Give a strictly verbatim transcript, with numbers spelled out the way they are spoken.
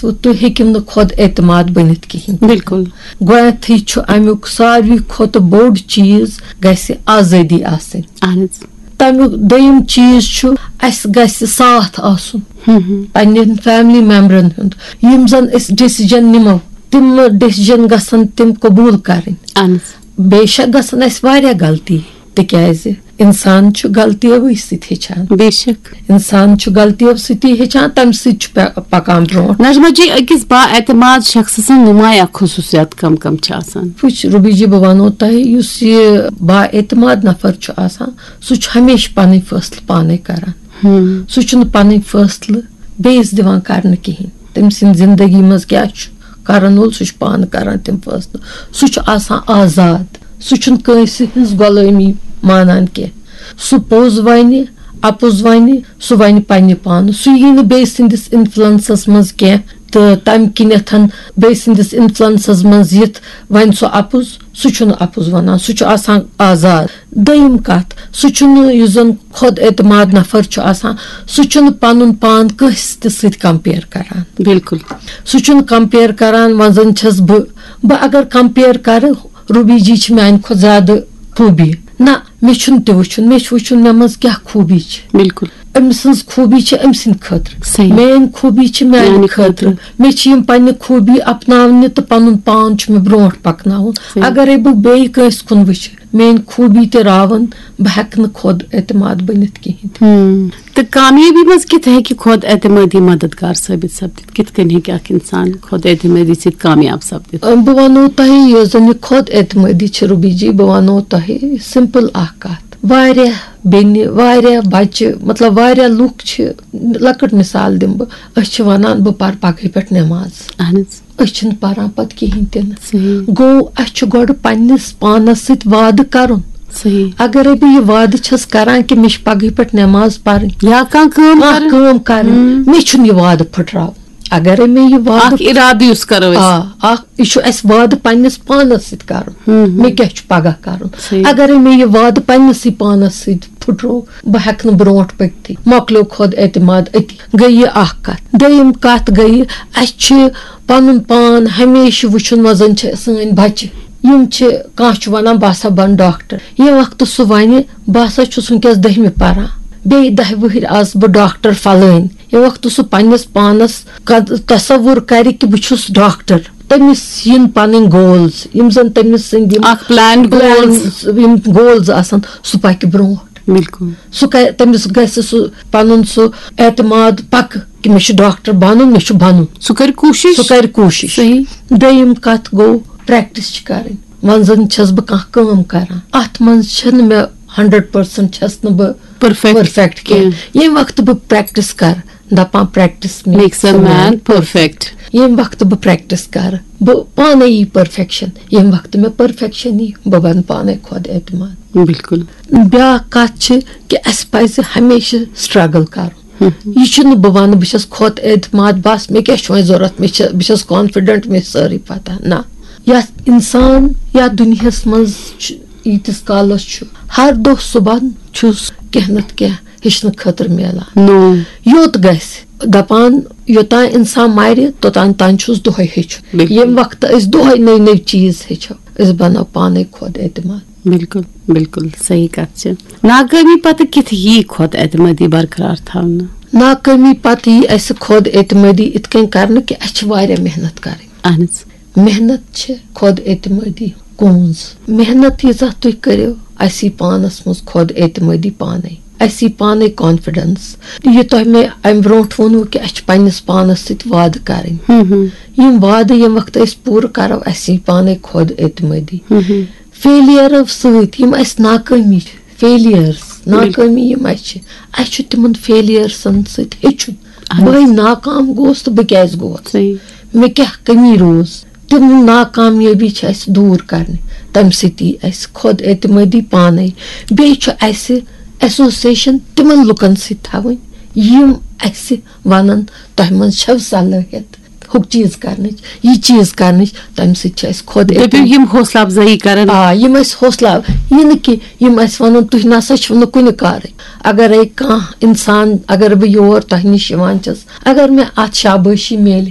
تہٕ تُہۍ ہیٚکِو نہٕ خۄد اعتماد بٔنِتھ کِہیٖنۍ۔ بِلکُل۔ گۄڈٕنیتھٕے چھُ اَمیُک ساروی کھۄتہٕ بوٚڑ چیٖز، گژھِ آزٲدی آسٕنۍ۔ اہن حظ۔ تَمیُک دوٚیِم چیٖز چھُ، اَسہِ گژھِ ساتھ آسُن ہم ہم۔ پننٮ۪ن فیملی ممبرن ہُنٛد، یِم زن أسۍ ڈیسیجن نِمو، تِم ڈیسیجن گژھن تِم قبوٗل کرٕنۍ۔ اہن حظ۔ بے شک گژھن اَسہِ واریاہ غلطی، تِکیازِ انسان چھُ غلطیو سۭتۍ ہیٚچھان۔ بے شک۔ انسان چھُ غلطیو سۭتی ہیٚچھان، تَمہِ سۭتۍ چھُ پے- پکان برونٛٹھ۔ نجمہ جی، أکِس با اعتماد شخص سٕنٛز نمایاں خصوٗصیات کم کم چھِ آسان؟ وٕچھ روبی جی، بہٕ وَنو تۄہہِ، یُس یہِ با اعتماد نفر چھُ آسان، سُہ چھُ ہمیشہِ پنٕنۍ فٲصلہٕ پانے کران۔ ہم۔ سُہ چھُنہٕ پنٕنۍ فٲصلہٕ بیٚیِس دِوان کرنہٕ کِہیٖنۍ۔ تٔمۍ سٕنٛدِ زندگی منٛز کیٛاہ چھُ کرن وول، سُہ چھُ پانہٕ کران تِم فٲصلہٕ۔ سُہ چھُ آسان آزاد، سُہ چھُنہٕ کٲنٛسہِ ہٕنٛز غۄلٲمی مانان کینٛہہ۔ سُہ پوٚز ونہِ، اپُز ونہِ، سُہ ونہِ پننہِ پانہٕ۔ سُہ یی نہٕ بیٚیہِ سٕنٛدِس انفلوئنسس منٛز کینٛہہ، تہٕ تمہِ کِنیتھ بیٚیہِ سٕنٛدِس انفلوئنسس منٛز یِتھ ونہِ سُہ اپُز۔ سُہ چھُنہٕ اپُز ونان، سُہ چھُ آسان آزاد۔ دوٚیِم کتھ، سُہ چھُنہٕ، یُس زن خۄد اعتماد نفر چھُ آسان، سُہ چھُنہٕ پنُن پان کٲنٛسہِ تہِ سۭتۍ کمپیئر کران۔ بِلکُل۔ سُہ چھُنہٕ کمپیئر کران، وۄنۍ زن چھَس بہٕ، بہٕ اگر کمپیئر کرٕ، روبی جی چھِ میانہِ کھۄتہٕ زیادٕ خوٗبی۔ نہ، مےٚ چھُنہٕ تہِ وٕچھُن، مےٚ چھُ وٕچھُن مےٚ منٛز کیٛاہ خوٗبی چھِ۔ بِلکُل۔ أمۍ سٕنٛز خوٗبی چھِ أمۍ سٕنٛدِ خٲطرٕ، صحیح۔ میٲنۍ خوٗبی چھِ میانہِ میانہِ خٲطرٕ۔ خٲطرٕ۔ مےٚ چھِ یِم پننہِ خوٗبی اپناونہِ تہٕ پنُن پان چھُ مےٚ برونٛٹھ پکناوُن۔ صحیح۔ اگرے بہٕ بیٚیہِ کٲنٛسہِ کُن وٕچھِ، میٲنۍ خوٗبی تہِ راوَن، بہٕ ہٮ۪کہٕ نہٕ خۄد اعتماد بٔنِتھ کِہیٖنۍ تہِ۔ ہم۔ تہٕ کامیٲبی منٛز کِتھ ہیٚکہِ خۄد اعتمادی مددگار ثٲبت سپدِتھ؟ کِتھ کٔنۍ ہیٚکہِ اکھ انسان خۄد اعتمادی سۭتۍ کامیاب سپدِتھ؟ أم، بہٕ وَنو تۄہہِ، یۄس زَن یہِ خۄد اعتمٲدی چھِ، روبی جی، بہٕ وَنو تۄہہِ سمپل اکھ کَتھ۔ واریاہ بیٚنہِ، واریاہ بَچہِ، مطلب، واریاہ لُکھ چھِ، لۄکٕٹ مِثال دِمہٕ بہٕ، أسۍ چھِ وَنان، "بہٕ پَرٕ پَگہٕے پٮ۪ٹھ نٮ۪ماز۔" اہن حظ۔ أسۍ چھِنہٕ پَران پَتہٕ کِہیٖنۍ تہِ نہٕ۔ صحیح۔ گوٚو، اَسہِ چھُ گۄڈٕ پنٛنِس پانَس سۭتۍ وعدٕ کَرُن۔ صحیح۔ اگرے بہٕ یہِ وعدٕ چھَس کَران کہِ مےٚ چھِ پَگہٕے پٮ۪ٹھ نٮ۪ماز پَرٕنۍ، یا کانٛہہ کٲم کانٛہہ کَرٕنۍ۔ کٲم کَرٕنۍ، ہم۔ مےٚ چھُنہٕ یہِ وعدٕ پھٕٹراوُن۔ اگرے مےٚ یہِ وعدٕ اکھ ارادٕ یُس کرو أسۍ۔ آ، اکھ، یہِ چھُ اَسہِ وعدٕ پننِس پانس سۭتۍ کرُن۔ ہم، ہم۔ مےٚ کیٛاہ چھُ پگاہ کرُن؟ صحیح۔ اگرے مےٚ یہِ وعدٕ پننِسٕے پانس سۭتۍ پھُٹرو، بہٕ ہٮ۪کہٕ نہٕ برونٛٹھ پٔکتھٕے۔ مۄکلیو خۄد اعتماد أتی۔ گٔے یہِ اکھ کتھ۔ دوٚیِم کتھ گٔے، اَسہِ چھِ پنُن پان ہمیشہِ وٕچھُن، وۄنۍ زن چھِ سٲنۍ بچہِ، یِم چھِ، کانٛہہ چھُ ونان، "بہٕ ہسا بنہٕ ڈاکٹر"، ییٚمہِ وقتہٕ سُہ ونہِ، "بہٕ ہسا چھُس وٕنکیٚس دٔہمہِ پران"، بیٚیہِ دَہہِ وٕہٕرۍ آسہٕ بہٕ ڈاکٹر فلٲنۍ۔ ییٚمہِ وقتہٕ سُہ پننِس پانس قد-، تصور کرِ کہِ بہٕ چھُس ڈاکٹر، تٔمِس یِن پنٕنۍ گولز، یِم زن تٔمِس سٕنٛدۍ یِم اکھ planned goals۔ plans، یِم گولز آسن، سُہ پکہِ برونٛٹھ۔ بِلکُل۔ سُہ کرِ، تٔمِس گژھِ سُہ پنُن سُہ اعتماد پکہٕ کہِ مےٚ چھُ ڈاکٹر بنُن، مےٚ چھُ بنُن۔ سُہ کرِ کوٗشِش۔ سُہ کرِ کوٗشِش۔ صحیح۔ دوٚیِم کتھ گوٚو، پریکٹس چھِ کرٕنۍ۔ وۄنۍ زن چھس بہٕ کانٛہہ کٲم کران، اتھ منٛز چھنہٕ مےٚ ہنڈریڈ پرسنٹ چھس نہٕ بہٕ Perfect پٔرفیکٹ کینٛہہ۔ ییٚمہِ وقتہٕ بہٕ پریکٹس کرٕ، دپان، "Practice Makes a man perfect۔ ییٚمہِ وقتہٕ بہٕ پریکٹس کرٕ، بہٕ پانے یی پٔرفیکشن۔ ییٚمہِ وقتہٕ مےٚ پٔرفیکشن یی، بہٕ بنہٕ پانے خۄد اعتماد۔" بِلکُل۔ بیٛاکھ کتھ چھِ کہِ اَسہِ پزِ ہمیشہِ سٹرگل کرُن۔ یہِ چھُنہٕ بہٕ ونہٕ بہٕ چھَس خۄد اعتماد، بس مےٚ کیٛاہ چھُ وۄنۍ ضوٚرتھ، مےٚ چھِ، بہٕ چھَس کانفیڈنٹ، مےٚ چھِ سٲرٕے پتہ۔ نہ، یتھ انسان یتھ دُنیاہس منٛز چھُ، ییٖتِس کالس چھُ، ہر دۄہ صبحن چھُس کینٛہہ نتہٕ کینٛہہ ہیٚچھنہٕ خٲطرٕ میلان۔ نوٚو۔ یوٚت گژھِ، دپان، یوٚتام انسان مرِ، توٚتام تام چھُس دۄہے ہیٚچھُن۔ بِلکُل۔ ییٚمہِ وقتہٕ أسۍ دۄہے نٔوۍ نٔوۍ چیٖز ہیٚچھو، أسۍ بنو پانے خۄد اعتماد۔ بِلکُل، بِلکُل صحیح کتھ چھِ۔ ناکٲمی پتہٕ کِتھ یی خۄد اعتمٲدی برقرار تھاونہٕ؟ ناکٲمی پتہٕ یی اسہِ خۄد اعتمٲدی اِتھ کٔنۍ کرنہٕ کہِ اسہِ چھِ واریاہ محنت کرٕنۍ۔ اہن حظ۔ محنت چھِ خۄد اعتمٲدی کونٛز۔ محنت ییٖژاہ تُہۍ کٔرِو، اسہِ یی پانس منٛز خۄد اعتمٲدی پانے۔ اسہِ یی پانے کانفیڈنس۔ یہِ تۄہہِ مےٚ امہِ برونٛٹھ ووٚنوُ کہِ اسہِ چھِ پننِس پانس سۭتۍ وعدٕ کرٕنۍ۔ ہم ہم۔ یِم وعدٕ ییٚمہِ وقتہٕ أسۍ پوٗرٕ کرو، اسہِ یی پانے خۄد اعتمٲدی۔ ہم ہم۔ فیلیر سۭتۍ یِم اسہِ ناکٲمی چھِ، فیلیئرس، ناکٲمی یِم اسہِ چھِ، اسہِ چھُ تِمن فیلیئرسن سۭتۍ ہیٚچھُن۔ اہن حظ۔ بہٕ ناکام گوس تہٕ بہٕ کیازِ گوس؟ صحیح۔ مےٚ کیٛاہ کٔمی روٗز؟ تِم ناکامیٲبی چھِ اسہِ دوٗر کرنہِ، تمہِ سۭتۍ یی اسہِ خۄد اعتمٲدی پانے۔ بیٚیہِ چھُ اسہِ ایسوسیشن تِمن لُکن سۭتۍ تھاوٕنۍ، یِم اسہِ ونن، "تۄہہِ منٛز چھو صلٲحیت ہُہ چیٖز کرنٕچ، یہِ چیٖز کرنٕچ"، تمہِ سۭتۍ چھِ اسہِ خۄد دٔپِو، اعتمٲدی۔ یِم حوصلہٕ افزٲیی کرن۔ آ، یِم اسہِ حوصلہٕ اف-، یہِ نہٕ کہِ یِم اسہِ ونن، "تُہۍ نسا چھِو نہٕ کُنہِ کارٕے"۔ اگرے کانٛہہ انسان، اگر بہٕ یور تۄہہِ نِش یِوان چھَس، اگر مےٚ اتھ شابٲشی میلہِ،